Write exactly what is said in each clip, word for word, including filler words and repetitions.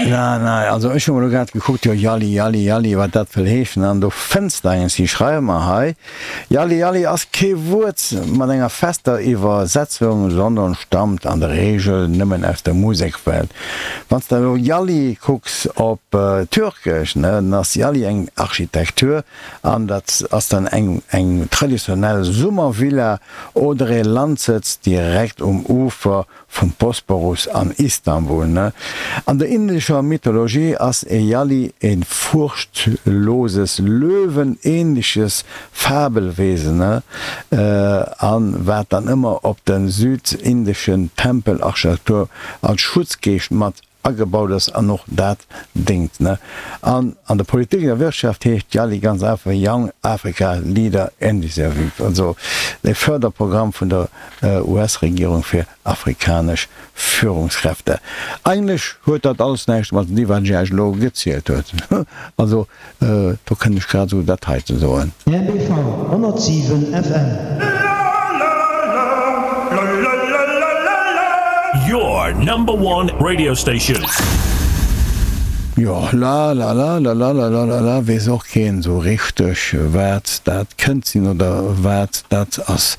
Na, na, also ech hu mol elo grad gekuckt, jo, Yali, Yali, Yali, wat dat wëll heeschen, an do fënns de enges, si schreiwe mer hei, Yali, Yali ass kee Wuert mat enger fester Iwwersetzung, sondern stammt an der Regel nëmmen aus der Musekwelt. Wann s de elo Yali kucks op Türkesch, ne, dann ass Yali eng Architektur an dat ass dann eng eng traditionell Summervilla oder ee Landsëtz direkt um Ufer vum Bosporus an Istanbul. An der indescher Mythologie ass e Yali e furchtloses, löwenähnliches Fabelwesen, an wat dann ëmmer op de südindeschen Tempelarchitektur als Schutzgeescht mat agebaut ass an och dat déngt. An an der Politik an der Wirtschaft heescht YALI ganz einfach Young Africa Leader Initiative, also e Förderprogramm vun der U S-Regierung fir afrikanesch Führungskräfte. Eigentlech huet dat alles näischt mat deem, wat ech Iech elo gezielt huet. Also do kënnt ech grad esou dat heiten soen. R B V honnertsiwen F M. Your number one radio station. Jo, la la la la la la la la la, weess och keen esou richteg, wat dat kënnt sinn oder wat dat ass.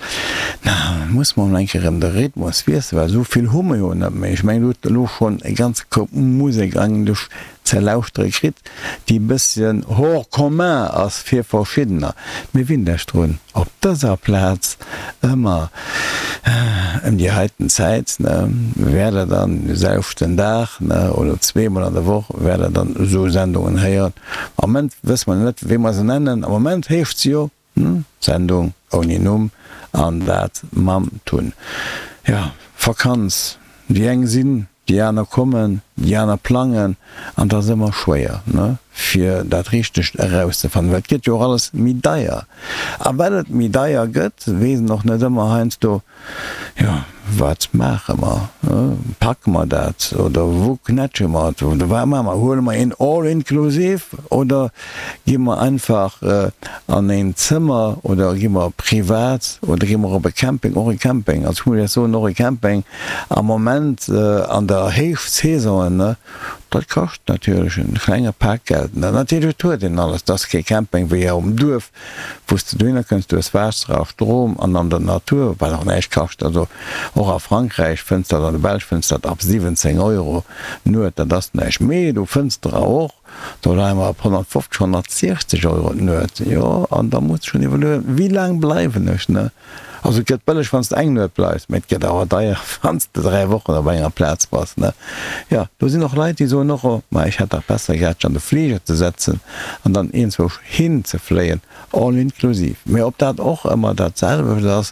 Na, muss mer emol eng Kéier erëm de Rhythmus wiesselen, well esou vill hu mer jo net méi. Ech mengen, Dir hutt elo schonn e ganze Koup Musek eigentlech ze lauschtere kritt, déi e bësschen hors commun ass fir verschiddener. Mee winnt Iech drun, op dëser Plaz ëmmer ëm déi heiten Zäit, ne, wäert Der dann de selwechten Dag, ne, oder zweemol an der Woch wäert Der dann esou Sendungen héieren. Am Moment wësse mer net, wéi mer se nennen. Am Moment heescht se jo Sendung ouni Numm, an dat mam Tun. Jo, Vakanz, déi eng sinn, déi aner kommen, déi aner plangen, an et ass ëmmer schwéier, ne, fir dat Richtegt erauszefannen, well et gëtt jo och alles méi deier. A well et méi deier gëtt, weess een och net ëmmer heiansdo, jo, wat maache mer, packe mer dat oder wou knätsche mer et oder wat maache mer, huele mer een All-inclusive oder gi mer einfach an een Zëmmer oder gi mer privat oder gi mer op e Camping, och e Camping, also ech muss Iech soen, och e Camping am Moment an der Héichsaison, ne, dat kascht natierlech e klenge Pak Geld. Natierlech, et huet een alles, et ass kee Camping wéi um Duerf, wou s de dohinner kënns, du hues Waasser a Strom an an der Natur, wat och näischt kascht. Also och a Frankräich fënns dat, an der Belsch fënns dat ab siwwenzéng Euro d'Nuet, dat ass näischt. Mee du fënns der och, do leie mer op honnertfofzeg, honnertsiechzeg Euro d'Nuet. Jo, an da muss de schonn iwwerlueën, wéi laang bleiwen ech, ne? Also et gëtt bëlleg wann s de eng Nuet bleifs, mee et gëtt awer deier wann s de dräi Wochen op enger Plaz bass, ne? Jo, do sinn och Leit, déi soen och, oh, ma ech hätt dach besser gehat, sech an de Fliger ze setzen an dann iergendzwousch hin ze fléien, all inklusiv. Mee ob dat och ëmmer dat selwecht ass,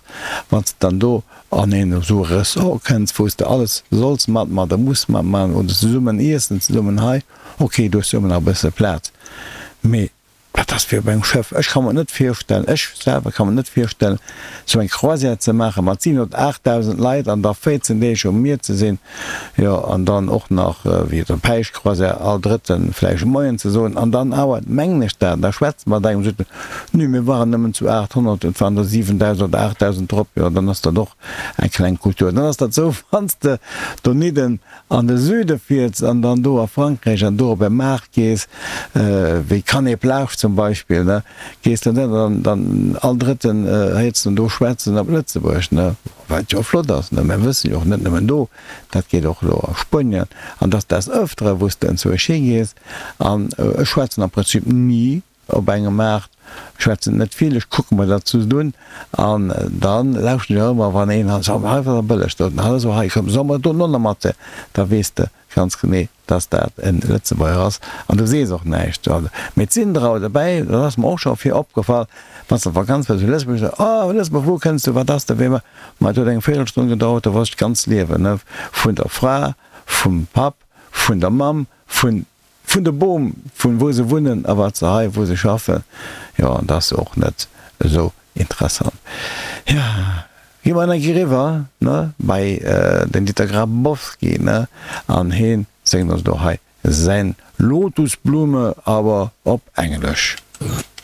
wann s de dann do an een esou Ressort kënns, wou s de alles solls matman oder muss matman oder zesummen iessen, zesummen hei, ok, do hues du ëmmer nach e bësse Plaz, mee Dat ass wéi op engem Schëff. Ech ka mer et net virstellen, ech selwer ka mer net virstellen, esou eng Croisière ze maache mat siwen oder aachtdausend Leit an da véierzehn Deeg um Mier ze sinn, jo, an dann och nach, wéi op der Päischtcroisière, all Drëtten vläicht Moien ze soen an dann awer, mengen ech dat, da schwätzt mat engem, sot en, Nö, mir waren nëmmen zu aathonnert, et waren der siwendausend oder aachtdausend drop. Jo, dann ass dat och eng kleng Kultur. Dann ass dat esou, wann s de donidden an de Süde fiers an dann do a Frankräich an do op e Maart gees, wéi Cannes Plage zum Beispill, ne, gees de dann, dann, dann all Drëtten héiers de do schwätzen op Lëtzebuerg, ne, wat jo flott ass, ne. Mer wëssen jo och net nëmmen do, dat geet och elo a Spuenien an dass des Ëftere wou s de enzwousch higees an ech schwätzen am Prinzip ni op engem Maart, ech schwätzen net vill, ech kucke mer dat just un an dann lauschten ech och ëmmer wann een hei seet, hei ass bëlleg, do hei ass hei, komm solle mer do no mat, da weess de ganz genee, dass dat e Lëtzebuerger ass an du sees och näischt. Mee et sinn der awer dobäi, dat ass mer och scho vir opgefall, wann s de op Vakanz wëlls zu Lëtzebuerg, se, oh Lëtzebuerg, wou kënns du, wat ass da, wéi, ma et huet eng Véierelstonn gedauert, da wosst ech d'ganz Liewen, ne, vun der Fra, vum Papp, vun der Mamm, vun Vun de Boom, vun wou se wunnen a wat se hei, wou se schaffen. Jo, an dat ass och net esou interessant. Jo, gi mer eng Kéier eriwwer, ne, bei den Dieter Grabowski, ne, an heen séngt ons elo hei säin Lotusblume, awer op Englesch.